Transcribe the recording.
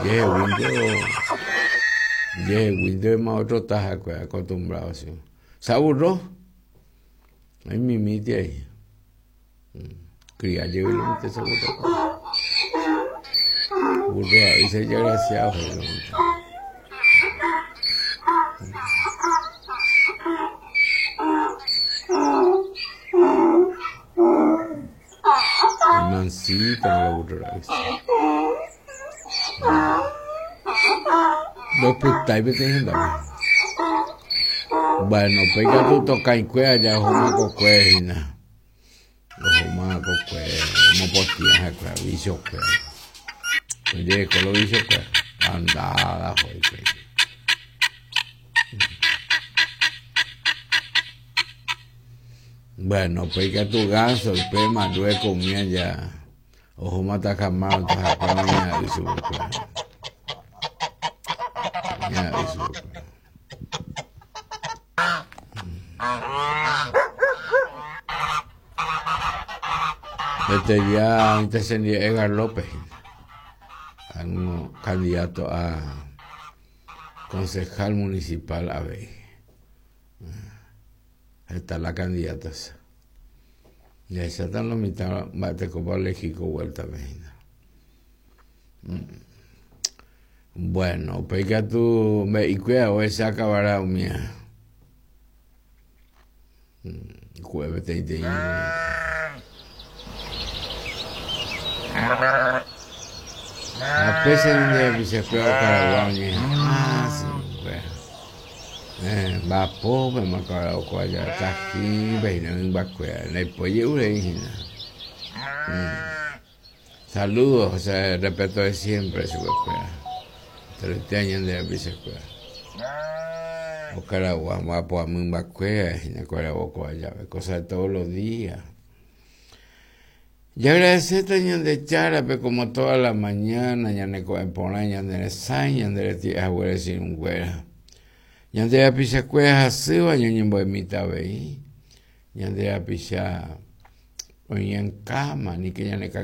Jeheguínte jeheguínte ma otro taha acostumbrado así. Se aburró. Ahí mimite ahí. Cría jey lomite se aburró. Burro ahí se desgraciado. Mansita la burro Ndopytái peteĩ hendápe. Bueno, upéi katu tokãikue aja ohóma kokue hína. Ohóma kokue omopotĩ ha'ekuéra vichokuéra. Ojereko lo vichokuéra. Andáda oho hikuái. Bueno, upéi katu gánso upéma luego umi aja. Ohóma takamárõ tahakua oñe'a'y chupekuéra. Oñe'a'y chupekuéra. Este día intercendía Edgar López, candidato a concejal municipal avei. Heta la candidata esa. Jahecháta lo mitã mba'etekópa olegi ko vuéltape hína. Bueno, upéi katu mbe'ikuéra ohecha kavara umía. Ku'e peteĩ teĩ. Ha péicha ñande rapichakuéra okaragua oñeha'ã chupekuéra. Mba'apópema kavara oko aja tahýpe hína mymbakuéra, ndaipói je'urei hína. Saludos, o sea, respeto de siempre chupekuéra. Enteroite ñande rapichakuéra. Okaragua mba'apoha mymbakuéra hína okaragua oko aja, cosa de todos los días. Jaagradecéta Ñandejárape como toda la mañana ñane ko'ẽ porã, ñane resãi, ñande reti'e haguére che irũnguéra. Ñande rapichakuéra hasýva ñañembo'emíta avei, ñande rapicha oĩ en cama, aníke ñane.